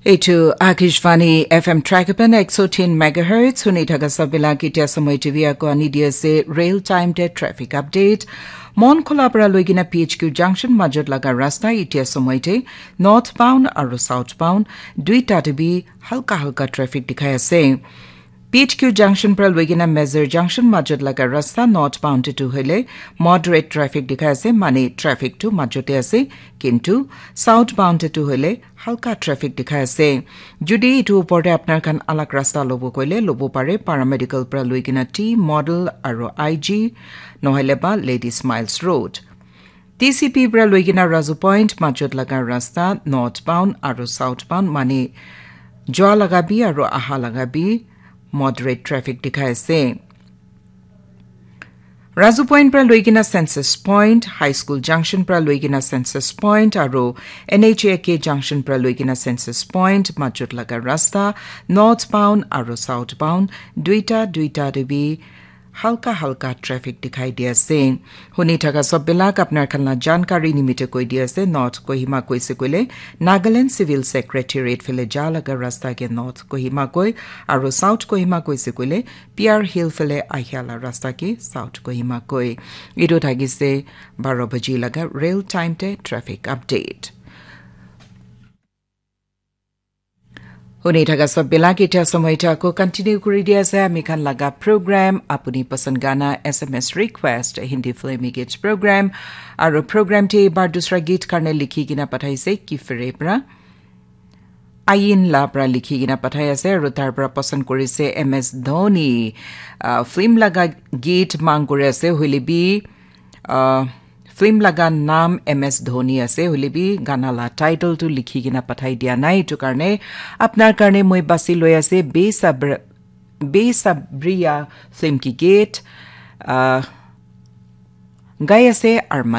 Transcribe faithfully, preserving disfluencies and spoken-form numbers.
Etu Akashvani F M Trakapan ek so tin megahertz, huni thaka sabila kitia samoi T V ako ani dia se real time te traffic update. Mon khula para loigina P H Q junction majot laga rasta itia samoi te northbound aru southbound duita te bi halka halka traffic dikhai ase. P H Q junction para loigina Mezar junction majot laga rasta northbound te tu hoile moderate traffic dikhai ase, mane traffic tu majot te ase, kintu southbound te tu hoile halka traffic dikhai ase. Jodi etu upor te apnar khan alag rasta lobo koile lobo pare, paramedical para loigina T model aru I G nohoile ba Lady Smiles Road. T C P para loigina Razu Point majot laga rasta northbound aru southbound mane jua laga bi aru aha laga bi moderate traffic dikhai ase. Razu Point para loigina Census Point, High School Junction para loigina Census Point aru N H A K Junction para loigina Census Point majot laga rasta northbound aru southbound duita duita te bi halka halka traffic dikhai di ase. Huni thaka sob bilak apnar khan la jankari nimite koi di ase. North Kohima koise koile Nagaland Civil Secretariat phale ja laga rasta ke North Kohima koi, aru South Kohima koise koile P R Hill phale ahia la rasta ke South Kohima koi. Etu thakise baro baji laga real time te traffic update. Huni thaka sob bilak itia samoi ta ko continue kuri di ase ami khan laga program, apuni pasand gana, S M S request, Hindi film git program, aru program te bar dusra git karne likhi kina pathaise ki fere pra. Ayin la pra likhi kina pathai ase, aru tar pra pasand kuri se M S Dhoni, ah, film laga git mang kuri ase, hoile bi, ah, film laga naam M S Dhoni ase, hoile bi gana la title tu likhi kina pathai dia nai. Etu karne apnar karne moi basi loi ase, Besabr-, Besabriya film ki git, ah, gai ase Arman